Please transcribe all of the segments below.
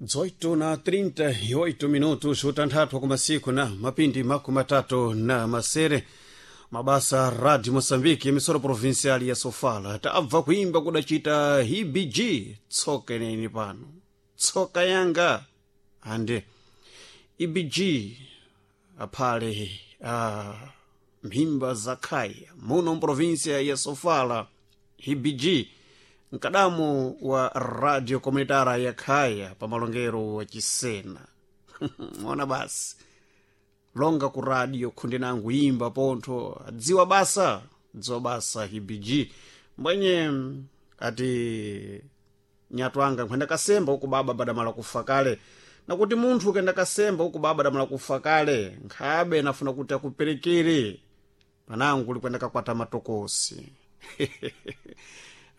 18 na 38 minutos, utanthatu kumasiku na mapindi 36. Mabasa Radio Moçambique, emissora provincial ya Sofala. Tabva kuimba kudacita HBG tsoka ineni pano, tsoka yanga ande EBG aphale mphimba za khaya muno mprovinsia ya Sofala. HBG mkadamu wa radio komunitara ya khaya pamalongero wa Chisena. Mona basi longa ku radio khundi nangu imba pontho adziwa basa, dziwa basa HBG mbwenye ati nyatu anga nkhwenda kasemba uku baba badamala kufa kale, nakuti munthu ukenda kasemba uku baba damala kufa kale, nkhabe nafuna kuti akuperekere panangu likwenda kakwata matokosi.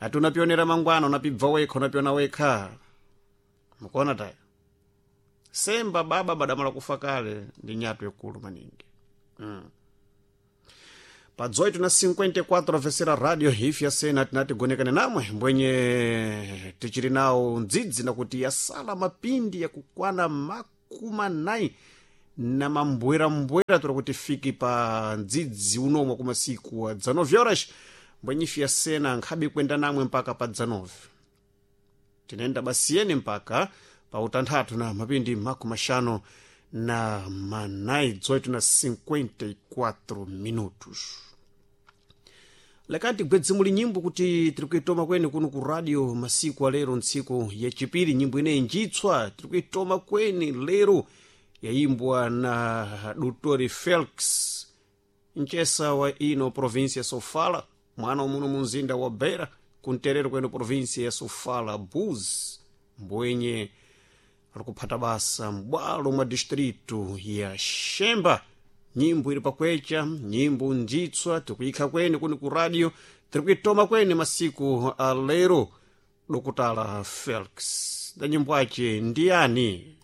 Ati unapionera mangwana, unapibva wekha, unapiona wekha, mukuona taya semba baba badamala kufa kale ndi nyatu ikulu maningi. Pa 18 na 54 vesera radio hifi ya sena tinati gonekane namwe mbwenye tichiri nawo ndzidzi nakuti yasala mapindi yakukwana 40 na mambwerambwera tora kuti fiki pa ndzidzi unomwe kumasiku wa 19 horas, mbwenye ifi ya sena nkhabe kwenda namwe mpaka pa 19 tinenda basiyeni mpaka pa utanthatu na mapindi 54, 18 na 54 minutos. Lekati gwedzi muli nyimbo kuti tiri kuitoma kweni kuno ku radio masiku alero, ntsiku yachipiri, nyimbo ineyi njitswa tiri kuitoma kweni lero, yayimbwa na Dr Felix mchesa wa ino província ya Sofala, mwana wa muno munzinda wa Beira kunterero kweno província ya Sofala Buz, mbwenye alikuphata basa m'bwalo mwa distrito ya Xemba. Nyimbo ili pakwecha, nyimbo njitswa tikuyikha kweni kuni ku radio, tiri kuitoma kweni masiku alero. Dokutala Felix da nyimbo ace ndiyani?